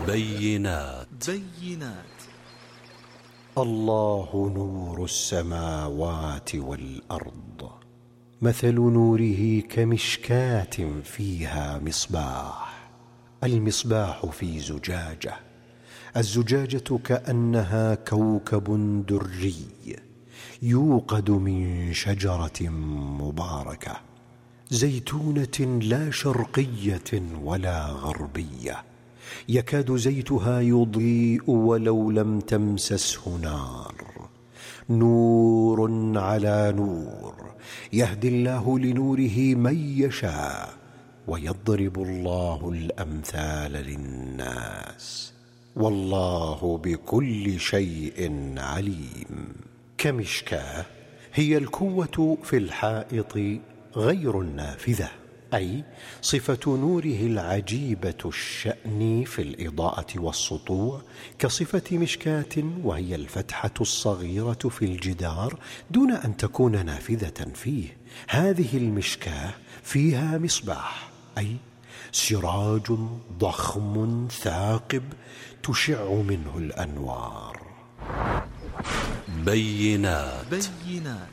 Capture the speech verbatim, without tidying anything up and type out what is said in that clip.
بينات بينات الله نور السماوات والأرض، مثل نوره كمشكاة فيها مصباح. المصباح في زجاجة، الزجاجة كأنها كوكب دري يوقد من شجرة مباركة زيتونة لا شرقية ولا غربية، يكاد زيتها يضيء ولو لم تمسسه نار. نور على نور، يهدي الله لنوره من يشاء، ويضرب الله الأمثال للناس، والله بكل شيء عليم. كمشكاة هي الكوة في الحائط غير النافذة، أي صفة نوره العجيبة الشأن في الإضاءة والسطوع كصفة مشكاة، وهي الفتحة الصغيرة في الجدار دون أن تكون نافذة فيه. هذه المشكاة فيها مصباح، أي سراج ضخم ثاقب تشع منه الأنوار. بينات بينات